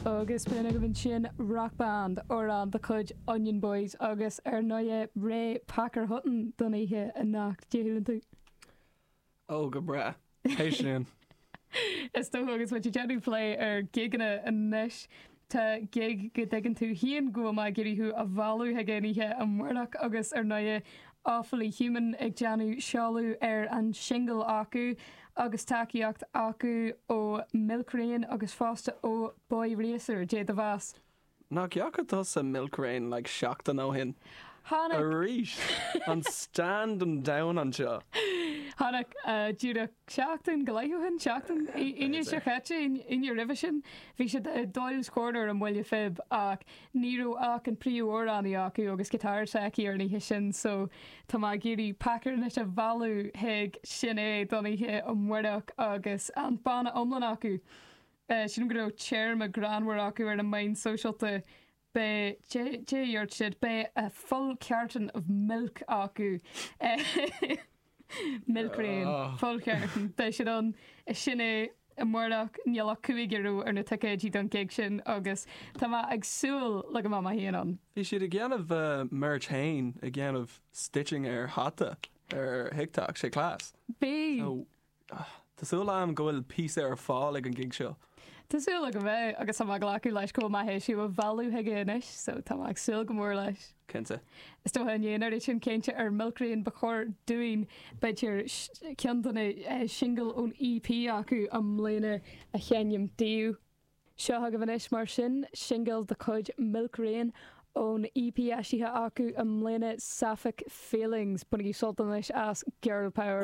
Agus b'in agaibh ansin Rock Band, amhrán de chuid Onion Boys agus ar ndóighe réidh Packer Hutton don oíche anocht. Cad é a shíleann tú? Ó, go breá. Théis sin. Is dócha agus muid ag déanamh plé ar gigeanna anois, tá gig go dtuigeann tú féin go bhfuil mé ag iarraidh thú a mhealladh chuige an oíche amárach agus ar ndóighe Awfully Human ag déanamh seoladh ar an singil acu agus tacaíocht acu ó Milk Rain agus fosta ó Boy Racer, Dé do mheas. Nach bhfaca tusa Milk Rain like seachtain ó shin? Tháinig. Arís! An stand an domhain anseo. Tháinig díreach seachtain go leith ó shin, seachtain, Aoine seo chaite, Aoine roimhe sin, bhí siad i Doyle's Corner i mBaile Phib ach ní raibh ach an príomhamhránaí acu agus guitar s'aici ar an oíche sin so tá mé ag iarraidh Packer anois a mhealladh chuig Sin É don oíche amárach agus an banna iomlán acu. Sílim go raibh téarma greannmhar acu ar na meáin sóisialta, beidh, cé a dúirt siad, beidh a full carton of milk acu. Milk rain, full carton. Beidh siad ann, sin é amárach, níl ach €5 ar na ticéidí don gig sin agus tá mé ag súil le go mbeidh mé féin ann. Bhí siad ag déanamh merch féin, ag déanamh stitching ar hata ar TikTok, sé class. Bhí. So Tá súil agam go bhfuil píosa ar fáil ag an gig seo. Tá súil agam é, agus tá mé ag glacadh leis go bhfuil mé théis thú a mhealladh chuige anois, so tá mé ag súil go mór leis. Cinnte. Is dócha i ndiaidh an oiread sin cainte ar Milk Rain ba chóir dúinn, b'fhéidir, ceann de na singil ón EP acu i mbliana a sheinm daoibh. Seo agaibh anois mar sin, singil de chuid Milk Rain ón EP eisithe acu i mbliana, Sapphic Feelings. Bainigí sult anois as Girl Power.